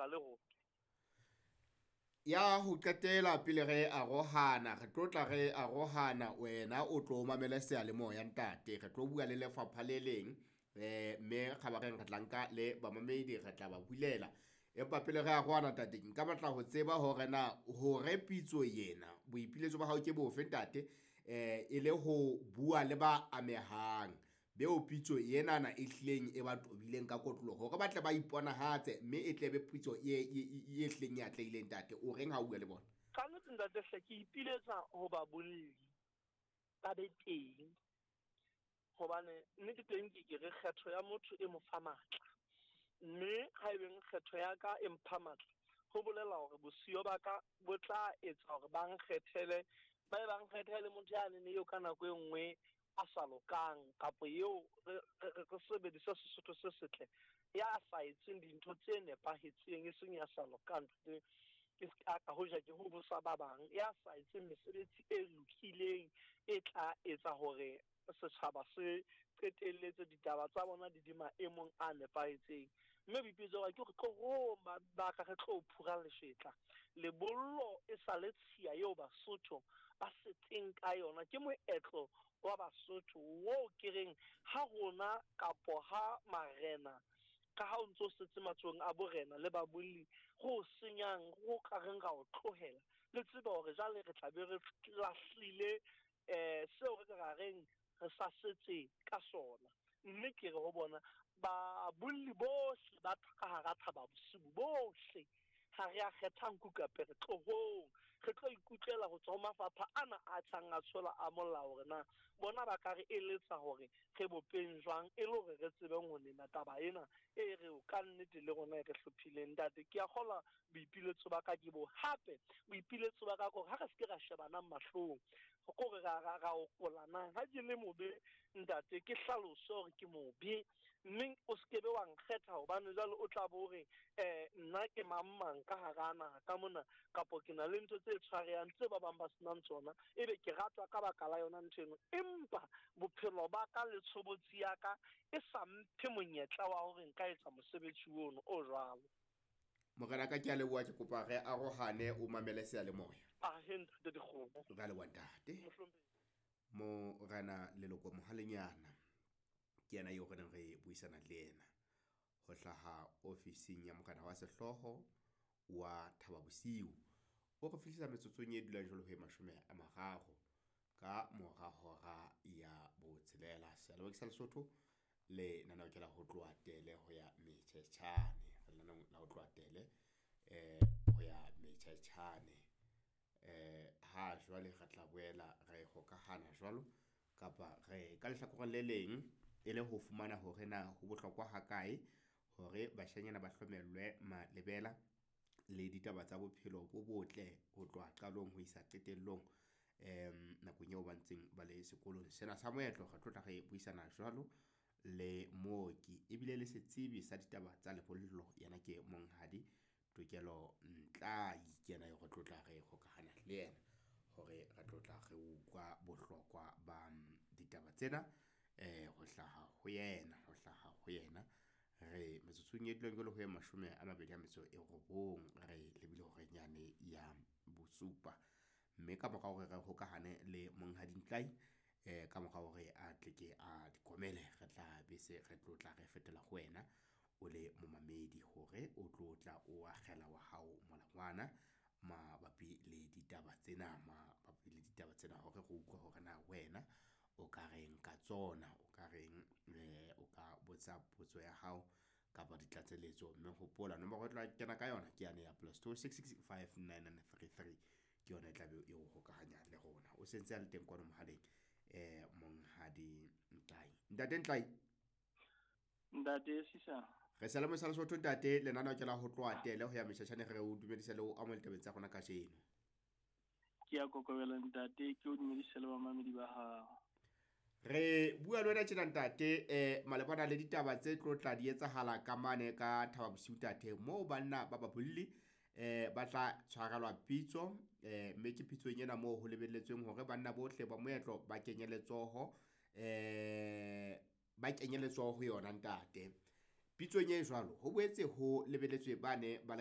hloka le rona. Ya ho qetela pele re arohana, re tlo tla re arohana, wena o tlo mamele seyalemoya ntate. Re tlo bua le lefapha le leng, mme kgabareng re tla nka le bamamedi, re tla ba bulela. Empa pele re arohana ntate, nka batla ho tseba hore na hore pitso yena boipiletso ba hao ke bofe ntate, e le ho bua le ba amehang beo pitso enana e hlileng e ba tobileng ka kotloloho hore ba tle ba iponahatse, mme e tle be pitso e hlileng e atlehileng ntate. O reng ha o bua le bona? Ka nnete ntate hle, ke ipiletsa ho babolli ba be teng, hobane nnete teng ke ke re kgetho ya motho e mo fa matla, mme ha ebeng kgetho ya ka e mpha matla, ho bolela hore bosiyo ba ka bo tla etsa hore ba nkgethele, ba be ba nkgethele motho yane eo ka nako e nngwe a sa lokang, kapa eo re sebedise Sesotho se setle, ya sa etseng dintho tse nepahetseng, e seng ya sa lokang, ke ska ka hoja ke ho bosa ba bang, ya sa etseng mesebetsi e lokileng e tla etsa hore setjhaba se qetelletse ditaba tsa bona di di maemong a nepahetseng. Mme boipiletso ba ke hore tlohong ba ka re tlo phura leshetla. Lebollo e sa le tshiya eo Basotho ba setseng ka yona, ke moetlo wa Basotho wo ke reng ha rona kapo ha marena, ka ha o ntso setse matsohong a borena le babolli, go senyang go ka reng ra o tlohela, le tsebe hore jwale re tla be re lahlile seo re ka reng re sa setse ka sona. Mme ke re ho bona babolli bohle ba ka hara Thaba Bosiu bohle, ha re a kgetha nku kape re tlohong, re tlo ikutlwela ho tswa ho mafapha ana a tjhang a tshola a molao hore na bona ba ka re eletsa hore re bopeng jwang, e le hore re tsebeng ho nena taba ena e re o ka nnete le rona e re hlophileng. Ntate, ke a kgolwa boipiletso ba ka ke bo. Hape boipiletso ba ka ke hore ha re se ke ra shebanang mahlong, kore ra okolanang. Ha ke le mobe ntate, ke hlalose hore ke mobe, mme o se kebe wa nkgetha hobane jwale o tla bo hore nna ke mang mang ka hara naha ka mona, kapo ke na le ntho tse tshwarehang tse ba bang ba senang tsona, ebe ke ratwa ka baka la yona ntho eno. Empa bophelo ba ka le tshobotsi ya ka e sa mphe monyetla wa hore nka etsa mosebetsi ono o jwalo. Morena ka ke a leboha, ke kopa re arohane, o mamele seyalemoya. Ahe ntate Dikgomo. Re a leboha ntate. Morena Leloko Mohalenyana ke yena eo re neng re buisana le yena ho hlaha ofising ya morena wa sehlooho wa Thaba Bosiu. O re fihlisa metsotsong e dulang jwalo ho e 30 ka mora hora ya 6. Seyalemoya ke sa Lesotho, le lenaneo ke la ho tloha tele ho ya metjhetjhane. Re lenaneong la ho tloha tele ho ya metjhetjhane. Ha jwale re tla boela re hokahana jwalo, kapa re ka lehlakoreng le leng e le ho fumana hore na ho bohlokwa hakae hore bashanyana ba hlomellwe malebela le ditaba tsa bophelo bo botle ho tloha qalong ho isa qetellong, nakong eo ba ntseng ba le sekolong sena sa moetlo. Re tlo tla re buisana jwalo le mooki ebile le setsebi sa ditaba tsa lebollo, yena ke Monghadi Tokelo Ntlai, ke yena eo re tlo tla re hokahana le yena hore re tlo tla re utlwa bohlokwa ba ditaba tsena ho hlaha ho yena, ho hlaha ho yena. Re metsotsong e dulang jwalo ho e 29, re lebile horeng yane ya 7. Mme ka mora hore re hokahane le Monghadi Ntlai, ka mora hore a tle ke a dikomele, re tla be se re tlo tla re fetela ho wena o le momamedi hore o tlo tla o akgela wa hao molangwana mabapi le ditaba tsena, mabapi le ditaba tsena, hore re utlwe hore na wena o ka reng ka tsona, o ka reng, o ka botsa potso ya hao kapa ditlatseletso. Mme hopola nomoro e tla kena ka yona ke yane ya +2 6 6 5 9 9 3 3, ke yona e tla be e o hokahanya le rona. O sentse a le teng kwano mohaleng, Monghadi Ntlai. Ntate Ntlai. Ntate Sisa. Re sa le mo sa Lesotho ntate, lenaneo ke la ho tloha tele ho ya metjhatjhane, re o dumedisa le o amohela tabeng tsa rona kajeno. Ke a kokobela ntate, ke o dumedisa le bamamedi ba hao. Re bua le wena tjena ntate, malebana le ditaba tse tlo tla di etsahala ka mane ka Thaba Bosiu ntate, moo banna ba babolli ba tla tshwarelwa pitso, mme ke pitsong ena moo ho lebelletsweng hore banna bohle ba moetlo ba kenye letsoho, ba kenye letsoho ho yona ntate. Pitsong e jwalo ho boetse ho lebelletswe bane ba